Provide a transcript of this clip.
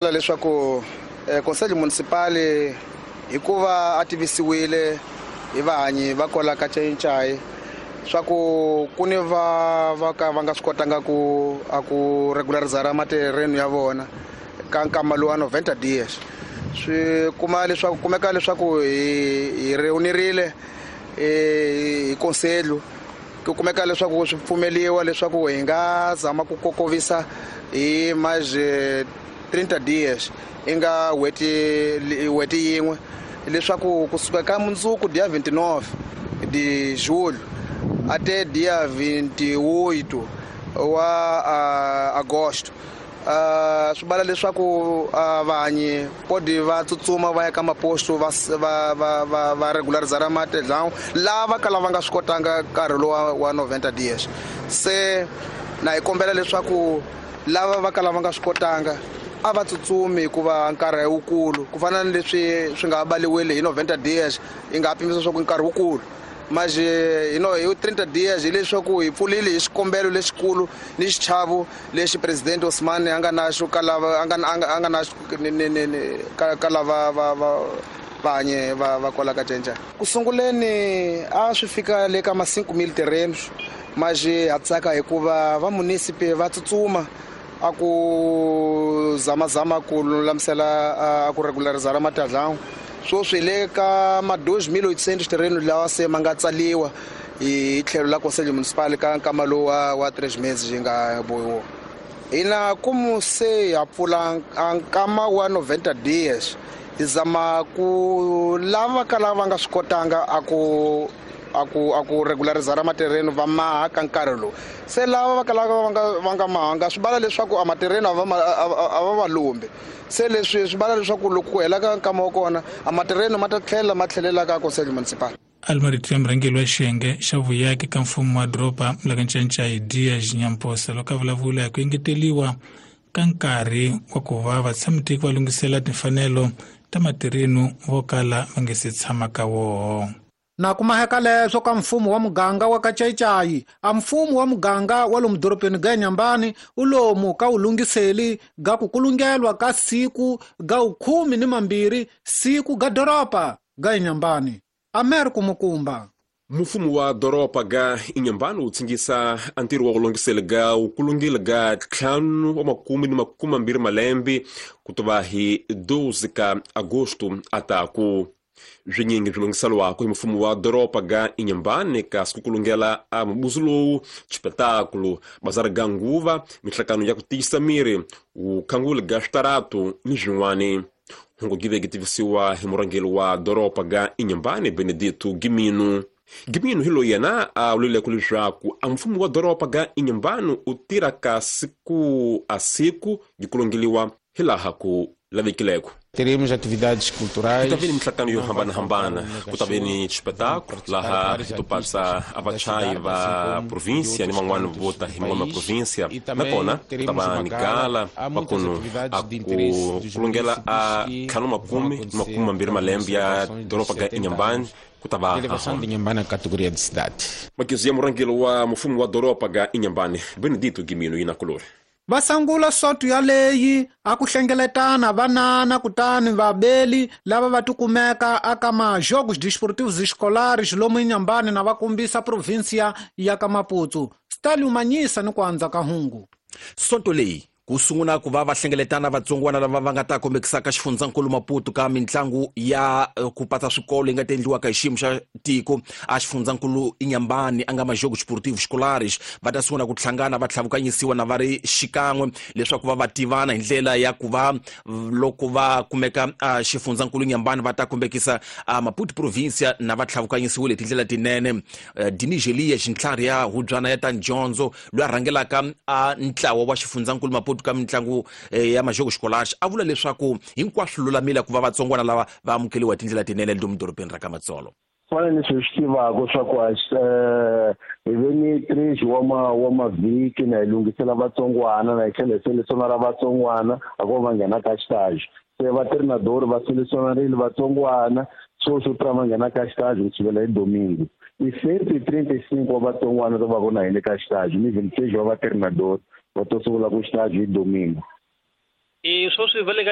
Leswaku Conselho Municipal hikuva a tivisiwile hi vahanyi va kwala ka Ncayincayi swa ku ku ni va va ka va nga swi kotanga ku a ku regularizara materreno ya vona ka nkama lowa 90 dias. Swi kuma leswaku kumeka leswaku hi reunirile hi conselho, ku kumeka leswaku swi pfumeliwa leswaku hi nga zama ku kokovisa hi mais 30 dias, i nga n'hweti yin'we, leswaku kusuka ka mundzuku dia 29 de julho até dia 28 wa agosto. Swi vala leswaku vahanyi podi va tsutsuma va ya ka maposto va regularizara matedlawu lava kala va nga swi kotanga nkarhi lowa wa 90 dias. Se na hi kombela leswaku lava va kala va nga swi kotanga a va tsutsumi hikuva nkarhi wukulu, ku fana na leswi swi nga baliwile hi 90 dias, yi nga pimisa leswaku nkarhi wukulu manje hi no hi 30 dias, hileswaku hi pfulile hi xikombelo lexikulu ni xichavo lexi president Osman a nga na xo ka lava a nga a nga na ni ka lava va va vahanye va kwala ka Ncayincayi. Ku sunguleni a swi fika le ka ma 5000 terrenos, manje ha tsaka hikuva va munisipe va tsutsuma a ku zamazama ku lulamisela a ku regularizara matadlawu. Sweswi le ka ma 2800 terreno lawa se ma nga tsaliwa hi tlhelo la Conselho Municipal ka nkama lowu wa 3 meses yi nga bohiwa. Hina kumu se ha pfula nkama wa 90 dias, hi zama ku lava ka lava nga swi kotanga a ku a ku regularizara materreno va maha ka nkarhi lowu. Se lava va kalaka va nga mahanga swi vala leswaku a materreno a va va lombi. Se leswi swi vala leswaku loko ku hela ka nkama wa kona a materreno ma ta tlhela ma tlhelela ka Conselho Municipal. Almarito ya murhangeri wa xiyenge xa vuyaki ka mfumo wa doroba la ka Ncayincayi Dias Nyamposa loko a vulavula hi ku engeteriwa ka nkarhi wa ku va vatshamitiko va lunghisela timfanelo ta materreno vo kala va nge se tshama ka woho. Na kumaheka leswo ka mfumo wa muganga wa ka Ncayincayi, a mfumo wa muganga wa lomu dorobeni ga Inhambane u lomu ka wulunghiseli ga ku kulungelwa ka siku ga 12 siku ga doroba ga Inhambane. Amer Kumukumba. Mfumo wa doroba ga Inhambane wu tsingisa a ntirho wa ku lunghisela ga wu kulungile ga 25 malembe ku tova hi 12 ka agosto ataku. Swinyingi swi lunghiseriwaka hi mfumo wa doroba ga Inhambane kasi ku kulungela a mubuso lowu, xipetakulo, bazari ga nguva, minhlangano ya ku tiyisa miri, vukhanguli ga switaratu ni swin'wani. Hungu gi veke tivisiwa hi murhangeri wa doroba ga Inhambane Benedito Gimino. Gimino hi loyi yena a vulileke leswaku a mfumo wa doroba ga Inhambane u tirha ka siku a siku yi kulungeliwa hi laha ku lavekileko. Teremos atividades culturais. Ku ta ve ni minhlangano yo hambanahambana, ku ta ve ni xipetakulo laha hi to patsa a vachayi va província ni van'wani vo ta hi man'wana ma província, nakona ku ta va ni gala va kunu a ku kulungela a 52 malembe ya doroba ga Inhambane ku ta va Elevação de Inhambane à categoria de cidade. Makizu ya murhangeri wa mfumo wa doroba ga Inhambane Benedito Gimino yina kulori. Va sangula soto yaleyi a ku hlengeletana vanana kutani vabeli lava va tikumeka aka majogos desportivos escolares lomu Inhambane na va kombisa província ya ka Maputo. Stalin Manyisa ni ku andza ka hungu. Sonto leyi ku sungula ku va va hlengeletana vatsongwana lava va nga ta kombekisaka xifundzankulu Maputo ka mitlangu ya ku patsa swikolo yi nga ta endliwaka hi xiyimo xa tiko a xifundzankulu Inhambane a nga majogos desportivos escolares va ta sungula ku hlangana va tlhavukanyisiwa na va ri xikan'we leswaku va va tivana hi ndlela ya ku va loko va kumeka a xifundzankulu Inhambane va ta kombekisa a Maputo província na va tlhavukanyisiwile hi tindlela tinene. Dinigelia xintlhari ya hubyana ya ta dyondzo loyi a rhangelaka a ntlawa wa xifundzankulu Maputo ka mitlangu ya majogos escolares a vula leswaku hinkwaswo lulamile ku va vatsongwana lava va amukeliwa hi tindlela tinene lomu dorobeni ra ka Matsolo. Fana ni swi tivaka swa ku hi ve ni 3 wa mavhiki na hi lunghisela vatsongwana na hi tlhela hi selesionara vatsongwana a ku va nghena ka xitaji. Se va treinador va selesionarile vatsongwana sweswo swi va nghena ka xitaji ku sukela hi domingo. I 135 wa vatsongwana va vona hi le ka xitaji ni 26 wa va treinador va to sungula ku xitaji hi domingo. E sweswi va le ka